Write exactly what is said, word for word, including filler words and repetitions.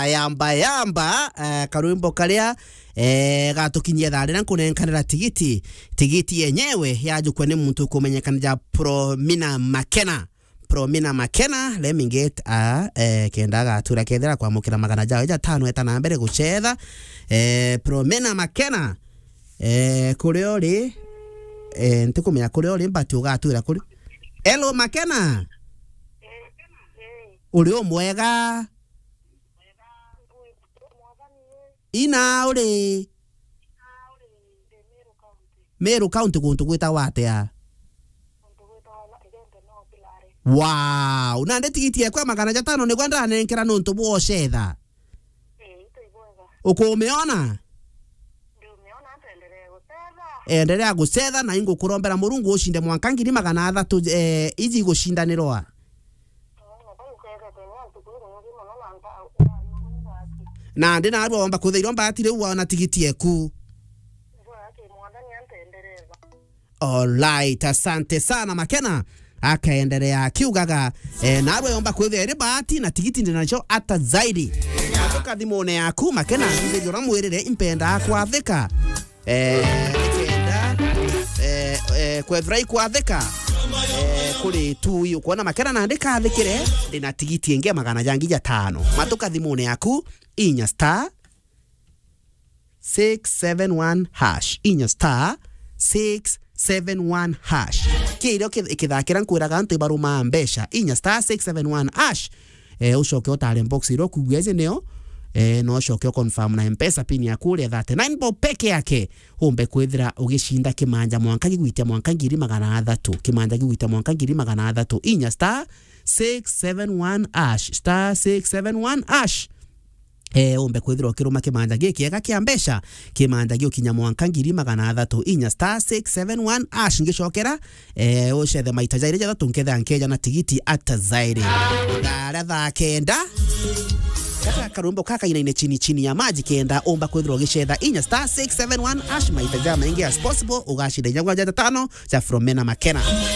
Yamba Yamba, eh, karwimbo karia, eh, gatukinyia thaa riria nkunenkanira tigiti. Tigiti yenyewe yajukua ni muntu ukumenyekana ja Promina Makena. Promina Makena, let me get a, eh, kenda agatura kethira kwamukira magana jao ja tano eta na mbere gucetha. Eh, Promina Makena, eh, kuria uri, eh, ntikumenya kuria uri, but ugatwira kuri. Hello, Makena. Uri umwega? Ina uri Meru County, guntu gwitagwa atia? Wow, nandi tigiti ekwa magana jatano nigwe ndanenkera nontu bwa ucetha. Ukumiona? Endelea gucetha na ingukurombera Murungu ucinde mwanka ngiri magana athatu, eh, iji igucindanirwa. Nandi narua womba kwithirwa mbati riu waona tigiti eku. Alright, asante sana Makena. Akaendelea akiugaga, eh, narua yomba kwithirwa iri bahati na tigiti ndinacio ata zaidi. Matoka thimune yaku Makena, ndithirwa mwirire impenda kwathika. Eh, kenda, eh, eh, kwethira ikwathika, eh, kuri tu uyu. Kuona Makena nandi kathikire, ndina tigiti ingi ya magana jangi jatano. Matoka thimune yaku, inya star six seven one hash. Inya star six seven one hash. Kirio ki-, kithakira nkwiraga antu ibaruma mbeca. Inya star six seven one hash. Eh, ucoke utare box iria ukugua iji nio, eh, no ucoke uconfirm na M-Pesa pin yaku uria thirty-nine bob peke yake, umbe kwithira ugicinda kimanja mwanka gigwitia mwanka ngiri magana athatu, kimanja gigwitia mwanka ngiri magana athatu, inya star six seven one hash, star six seven one hash. Eh, umbe kwithira ukiruma kimanja gikiega kia mbeca, kimanja giukinya mwanka ngiri magana athatu, inya star six seven one hash, ngicokera, eh, ucethe maita jairi jathatu nkethira nkeja na tigiti ata zairi. Thaa thaa kenda. Kaka karwimbo kaka inaine chini chini ya maji kenda umba kwithirwa ugicetha inya star six seven one hash maita ja maingi as possible, ugacinda inya gwa jata tano ja From Mena Makena.